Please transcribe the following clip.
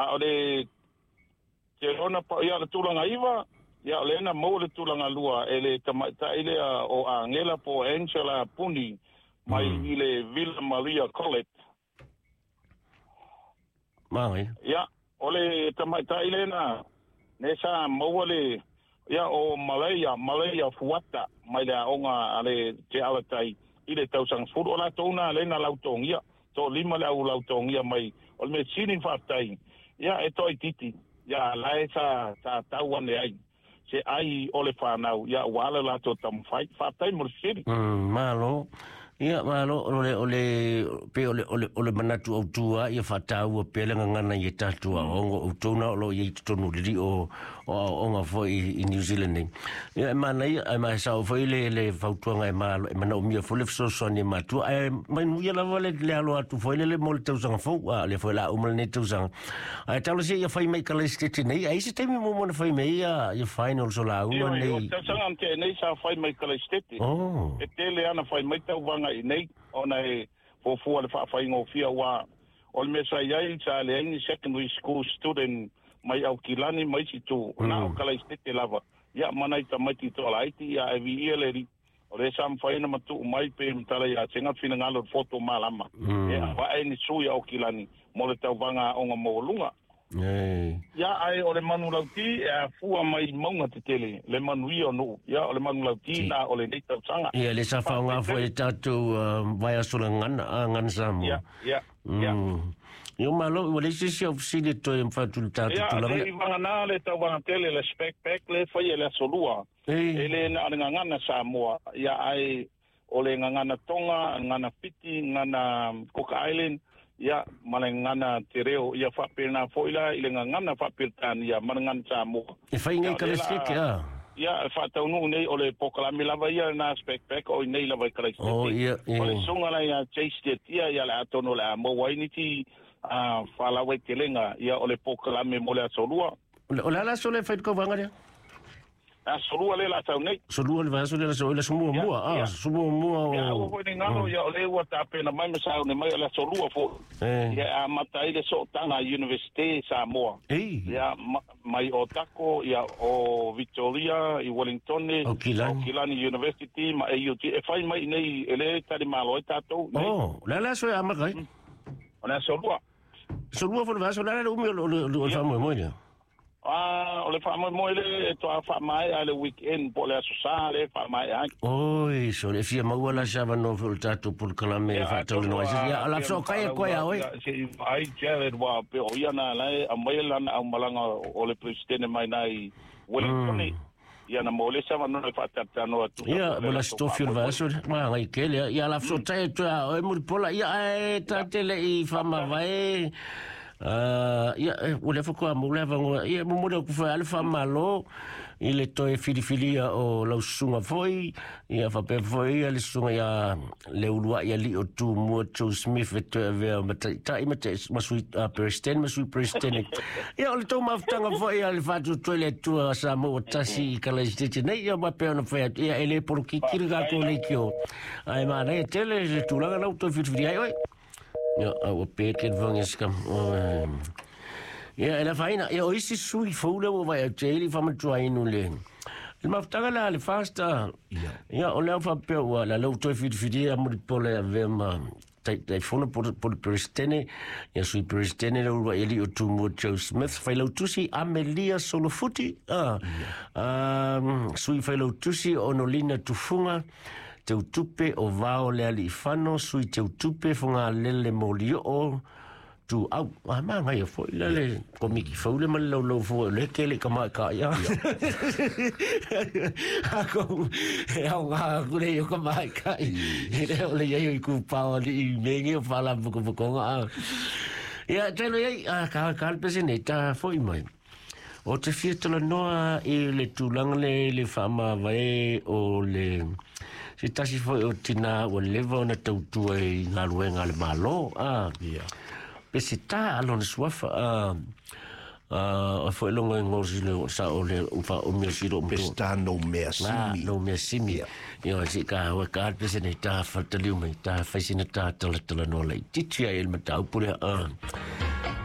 A o le te ona pa ia le tulaga 9, ia o le na maua le tulaga 2 e le tamaitai lea o Angela po Angela Puni mai i le Villa Maria College. Mai. Ia, o le tamaitai lea na ne sa maua le ia o Malaya Fuata mai le aoga a le Te Alatai i le tausaga 10 o latou na le na lautogia to lima le au lautogia mai o le mesini faafetai ia e toi titi ia lae sa tau ane ai se ai o le whanau ia wala latou tamawhai faafetai mo le sili. Malo. Ia malo o le pe o le manatu au tua ia whataua pe le ngana i tatua ongo o tona o lo i tonu lili o onga foi i New Zealand nei. Ia e mana ia e mai sao foi le fautuanga e malo e mana umia foi le fesoasoani matua e mai nuia lava le alo atu foi le mo le tausaga fou a le foi la uma le tausaga. Ai talo se ia fai mai ka le stete nei ai se taimi mo mona fai mai ia final so la uma nei. O tausaga te nei sa fai mai ka le stete. E tele ana fai mai tau vanga i nei ona e fofua le faafaigo ua o le mea iai sa le ai secondary school student mai au kilani mai situ na o kala istete lava ia mana i tamaiti to laiti ia e vi ia le o le sa mfai na matu mai pe mtala ia tenga finangalo foto malama e va e ni sui au kilani mo le tauvaga o nga mo lunga. Ia ai o le manu lauti e afua mai maunga te tele le manu ia no ia o le manu lauti na o le nei tausaga. Ia le sa faaaoga foi le tatou vaiaso le gana gana Samoa. Ia ia ia. Ia malo ua le sisi au fesili toe mafatu le tatou tulaga. Ia le vagana le tauvaga tele le spec pack le fai e le aso lua. E le na o le gagana Samoa ia ai o le gagana Tonga, gagana Fiti, gagana Cook Island ia ma le gagana te reo ia faapena foi la i le gagana faaperetania ma le gagana Samoa. E fai nei ka le seke a. Ia e faataunuu nei o le pokalame lava ia na spec pack o i nei lava i Kalaisete. Oh ia. O le suga la ia Chase Tia ia le atono le a maua ai nisi faalaua i telega ia o le pokalame mo le aso lua. O le ala aso le fai kauvaga lea? Aso lua le la tau nei. Aso lua le vaiaso le aso le sumua mua sumua mua o. Ia ua foi ni ngalo ia o le ua tapena mai ma saune mai o le aso lua foi. Ia a mata ai le sootaga Universite Samoa. Ia mai o Tako ia o Victoria i Wellington o Kilani University ma AUT e fai mai nei e le tali malo ai tatou nei. Oh, le ala aso e amata ai. O le aso lua. Aso lua foi le vaiaso le ala umi o le faamoemoe lea. Ah, o le faamoemoe le e toa faamaea ai le weekend po le aso sa le faamaea ai. Oi, so le fia maua la sa vano foi o le tatou polokalame e faatauloa ai. Ia, la fesoakai atu ai a oe. Se i ai Jared wa pe o ia na lae a mai lana au malaga o le presidente mai nai Wellington. Ia na mo le sa vano e faatalatanoa atu. Ia, mo la stofi o le vaiaso le magai kele. Ia, la fesoatai atu a oe mulipola. Ia, ae tatele i faamavae. Ia ua le faatoa mo le avanoa ia momoli atu foi a le faamalo i le toe filifilia o lau susuga foi ia faapea foi ia le susuga ia le uluai alii o Tumua Joe Smith e toe avea ma taitai ma sui president ma sui president. Ia o le tou mafutaga foi a le faatuatoe le Atua Samoa ua tasi i Kalaisitete nei ia ma pea ona fai atu ia e le polokiki le tatou leitio ae manaia tele le tulaga lau toe filifili ai oe. Ia, ua pe ke le ska. Ia, e la faina, ia o isi sui fou le ua vai au te ili whamatua inu le. Le mafutaga la le fasta. Ia, o lea whapea ua la lau toi whitiwhiti a muri pole a vea ma tai fono po le presidente, ia sui presidente le ua eli o Tumua Joe Smith, failautusi Amelia Solofuti, sui failautusi Onolina Tufunga, Teutupe o Vao le Aliifano, sui Teutupe Fogalele Molioo, tu au, a magai foi la le komiki fou le ma le laulau fua le kele ka mai ka ia. Ako, e au ngā kure i o ka mai ka i. E le o le iai o i kūpao ali i menge o whala pukapukonga. Ia, telo iai, ka ka le pese nei, tā foi mai. O te fia tala noa i le tulaga le whaamavae o le se tasi foi o tina ua leva ona tautua i galuega a le Malo. Pe se tā alona suafa foi longa i ngosi le sa o le ufa o mea siro o Pe se tā no mea simi. No mea simi. Ia si ka hua ka pe se nei tā whataliu mai tā whaisina tā tala tala noa lei. Titi ai el matau pure.